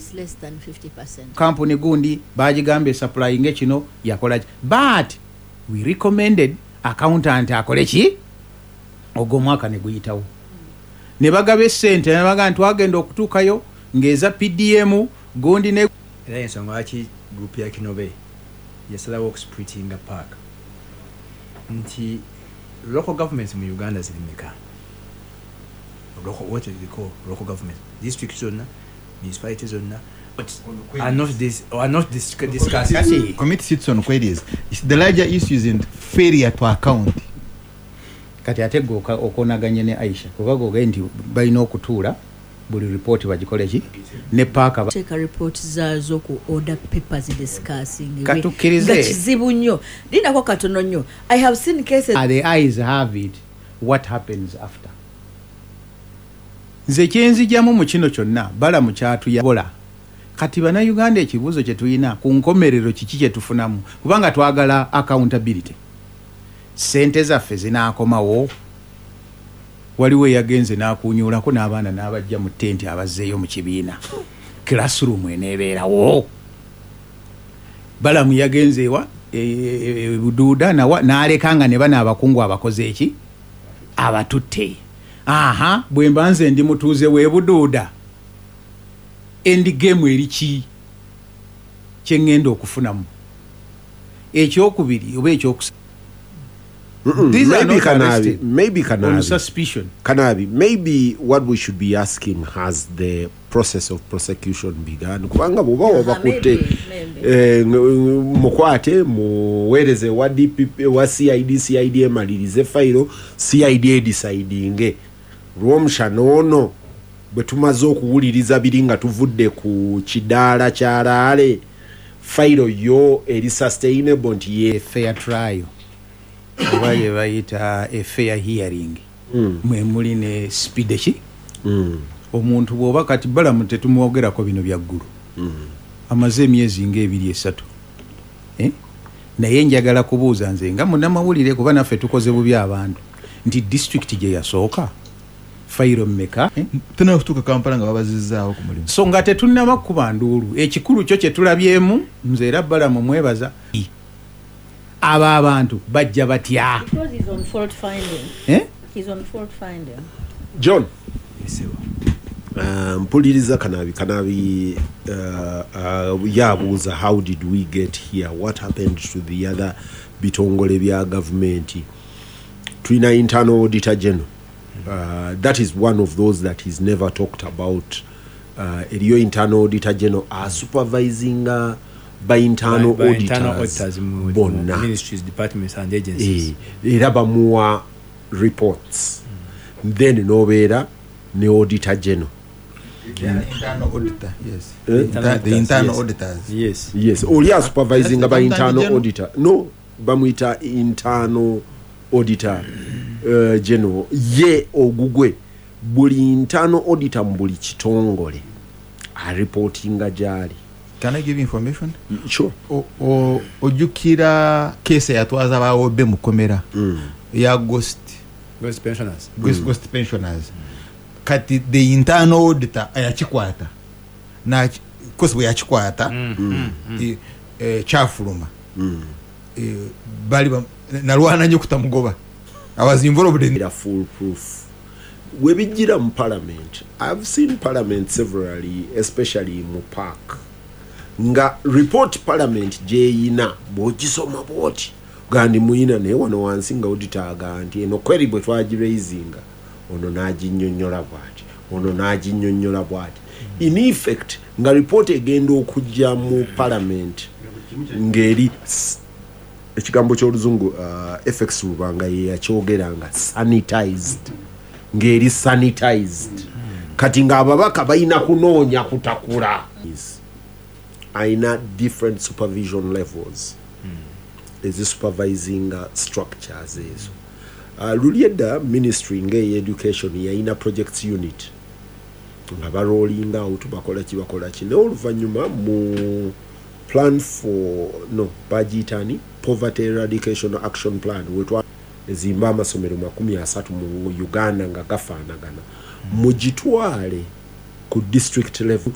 Is less than 50%. Kampuni gundi bagigamba esupplyinge kino, yakola ki, but we recommended accountant akole ki. Ogwo omwaka ne guyitawo, ne bagaba esente, ne bagamba nti twagenda okutuukayo ng'eza PDM gundi ne Era ensonga lwaki group ya Kinobe yasalawo okusplittinga PAC, nti local governments mu Uganda ziri meka? What we call local government, district zonna, municipality zonna, but are not discussed. Kati Committee sits on queries. It's the larger issues in failure to account. Kati ate gwe okonaganye ne Aisha, kuba gogaye nti balina okutuula buli ripooti bagikole ki ne PAC. Teeka report zaazo ku order papers discussing. Katukkirize. Nga kizibu nnyo, linako katono nnyo. I have seen cases. The ayes have it. What happens after? Nze kyenzijjamu mu kino kyonna, Balamu kyatuyabola. Kati Bannayuganda, ekibuuzo kye tulina ku nkomerero, kiki kye tufunamu? Kubanga twagala accountability. Sente zaffe zinaakomawo? Waliwo eyagenze n'akunyulako n'abaana n'abajja mu tenti, abazzeeyo mu kibiina, classroom eneebeerawo? Balamu yagenze ewa Buduuda nawa n'aleka nga ne bano abakungu abakoze eki abatutte. Aha, bwe mba nze ndi mutuuze w'e Buduuda, end game eri ki kyeŋŋenda okufunamu? Ekyokubiri oba ekyokusa, these are Maybe not Kanabi, arrested maybe on Kanabi, suspicion. Kanabi, maybe what we should be asking, has the process of prosecution begun? Kubanga bw'oba wabakutte, Maybe, maybe. Mukwate, muweereze wa DPP, wa CID, CID emalirize fayiro, CID edecidinge Lwomushana ono bwe tumaze okuwuliriza biri nga tuvudde ku kidaala kyalaale, fayiro yo eri sustainable nti ye A fair trial, oba ye bayita a fair hearing, mwe muli ne speed ki omuntu bw'oba. Kati Balamu tetumwogerako bino byaggulu, amaze emyezi ngaebiri esatu, eh? Naye njagala kubuuza nze nga munnamawulire, kuba naffe tukoze bubi abantu, nti disitulikiti gye yasooka fayiro mmeka, eh? Tuna kutuuka Kampala nga babazizaawo ku mulimu. So nga tetunnaba kuba nduulu, ekikulu kyo kye tulabyemu, nze era Balamu mwebaza, abo abantu bajja batya? Because he's on fault finding. Eh? He's on fault finding. John. Esebo. Mpuliriza Kanabi. Kanabi yabuuza, how did we get here? What happened to the other bitongole bya gavumenti? Tulina Internal Auditor General. That is one of those that is never talked about. Eriyo Internal Auditor General asupervisinga by internal By internal auditors, auditors mu bonna. Ministries, departments and agencies. Era bamuwa reports. Then nobeera ne Auditor General. Internal auditor, yes. Eh? The internal Yes. auditors. Yes. Yes, oli asupervisinga ba That's the internal General? auditor. No, bamuyita Internal Auditor General. Ye ogugwe buli internal auditor mu buli kitongole areportinga gyali. Can I give information? Sure. Ojjukira case eyatwaza bawobe mukomera ya ghost Ghost pensioners. Ghost pensioners. Kati the internal auditor yakikwata, kosi bwe yakikwata, kyafuluma. Bali nalwana nnyo kutamugoba. I was involved in Era full proof webijjira mu parliament. I've seen parliament severally, especially mu PAC, nga report parliament gyeyina bw'ogisoma bwoti gandi muyina, naye wano wansi nga auditor aga nti eno query bwe twagiraisinga, ono n'aginnyonnyola bw'ati, ono n'aginnyonnyola bw'ati. In effect nga report egenda okujja mu parliament ng'eri ekigambo ky'oluzungu, FX Lubanga ye yakyogera nga sanitized, ng'eri sanitized. Kati ng'ababaka balina kunoonya kutakula. Ayina different supervision levels ezisupervisinga structures ezo. Luli edda ministry ng'eya education yayina projects unit nga barolling out, bakola ki, bakola ki, naye oluvannyuma mu plan for, no, bagiyitani Poverty Eradication Action Plan, wetwa ezimba amasomero 30 mu Uganda nga gafaanagana, mugitwale ku district level.